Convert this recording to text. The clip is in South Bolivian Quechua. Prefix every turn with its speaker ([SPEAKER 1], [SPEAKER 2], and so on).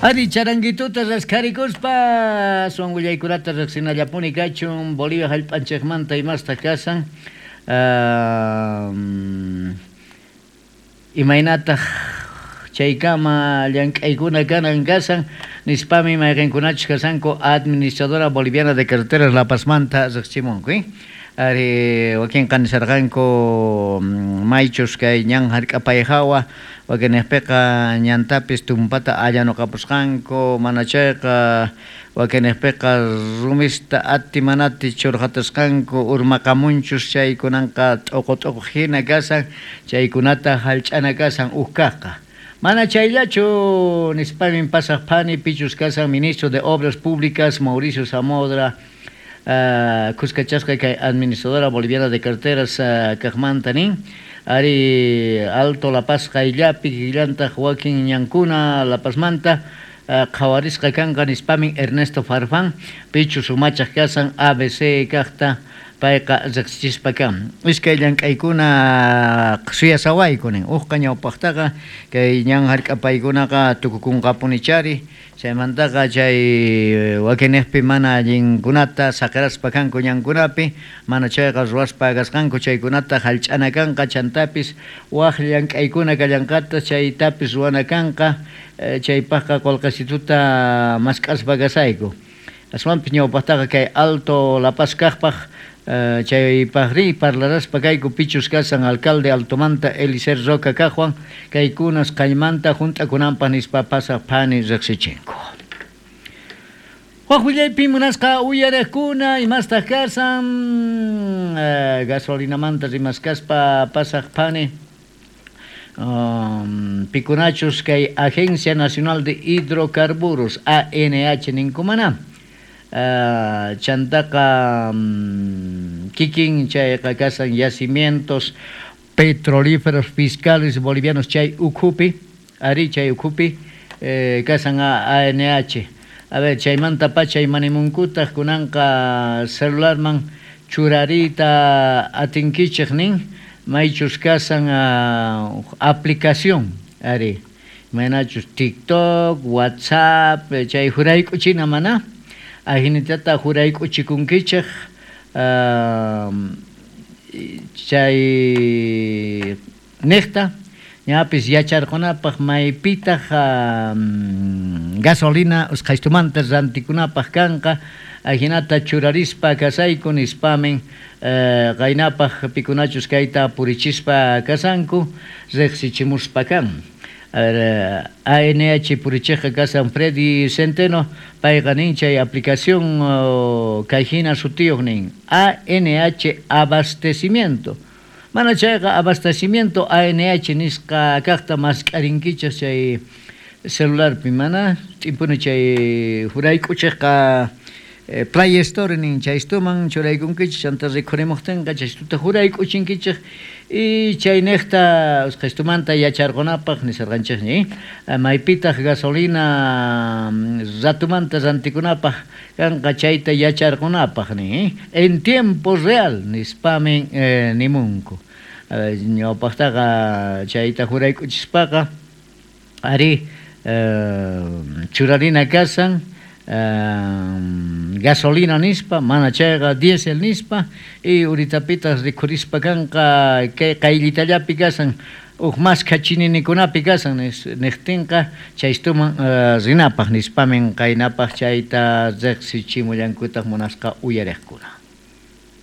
[SPEAKER 1] Ari charanguituta raskharikuspa aswan willaykunata riqsinallapuni kachun Bolivia hallp'anchikmanta imasta kasan imaynataq chaykama llank'aykuna kanan kasan nispami mayqinkunachus kasanku Administradora Boliviana de Carreteras La Pazmanta riqsimunku. Ari wakinqa nisarqanku maychus kay ñan hark'apay hawa wakinniqpiqa ñantapis tumpata allanuqapusqanku mana chayqa wakinniqpiqa rumista ati manati churqatasqanku urmaqamunchus chaykunanqa t'uqu t'uqu hina kasan chaykunata hallch'ana kasan huk kaqqa. Mana chayllachu nispamin pasaq phani pichus kasan ministro de Obras Públicas Mauricio Samodra khuskachasqa kay Administradora Boliviana de Carreteras kaqmanta nin ari Alto La Paz qayllapi kikillantaq wakin ñankuna La Pazmanta qhawarisqa kanqa nispamin Ernesto Farfán pichus umachaq kasan ABC kaqta payqa riqsichispa kan. Iskay llank'aykuna suyasawayku nin hukqa ñawpaqtaqa kay ñan hark'apaykunaqa tukukunqapunichari chaymantaqa chay wakinniqpi mana allinkunata saqiraspa kanku ñankunapi mana chayqa ruwaspa kasqanku chaykunata hallch'ana kanqa chantapis wak llank'aykuna kallanqata chaytapis ruwana kanqa chaypaqqa qullqisituta mask'aspa kasayku. Aswanpis ñawpaqtaqa kay Alto La Paz kaqpaq chaypaqri parlaraspa kayku pichus kasan alcalde Altomanta Elicer Roca kaqwan kaykunas qaymanta hunt'akunanpaq nispa pasaq phani riqsichinku. Wak willaypi munasqa uyariqkuna imastaq kasan gasolinamanta rimaskaspa pasaq phani pikunachus kay Agencia Nacional de Hidrocarburos ANH ninkumana chantaqa kikin chayqa kasan yacimientos petrolíferos fiscales bolivianos chay ukhupi ari chay ukhupi kasan ANH. A ver, chaymanta pacha imanimunkutaq kunanqa celularman churariyta atinkichik nin maychus kasan aplicación ari imaynachus TikTok, WhatsApp chay jurayk'uchina mana ajinitata jurayk'uchikunkichik chay niqta ñapis yacharqunapaq maypitaq gasolina usqhaystumanta rantikunapaq kanqa ajinata churarispa kasayku nispamin qaynapaq pikunachus kayta purichispa kasanku riqsichimuspa kan. A ver, ANH purichiqqa kasan Freddy Centeno payqa nin chay aplicación kayhina sutiyuq nin ANH abastecimiento. Mana chayqa abastecimiento ANH nisqa kaqta mask'arinkichik chay celularpi mana t'impuni chay jurayk'uchiqqa Play Store nin chaystuman churaykunkichik chanta rikhurimuqtinqa chaystuta jurayk'uchinkichik y chayniqta usqhaystumanta yacharqunapaq nisarqanchikña maypitaq gasolina ratumanta rantikunapaq kanqa chayta yacharqunapaq nin en tiempo real nispamin nimunku. Ñawpaqtaqa chayta jurayk'uchispaqa ari churarina kasan gasolina nispa mana chayqa diésel nispa y uritapitaq rikhurispa kanqa kay qayllitallapi kasan huk maskha chininikunapi kasan niqtinqa chaystuman rinapaq nispamin qaynapaq chayta riqsichimullankutaq munasqa uyariqkuna.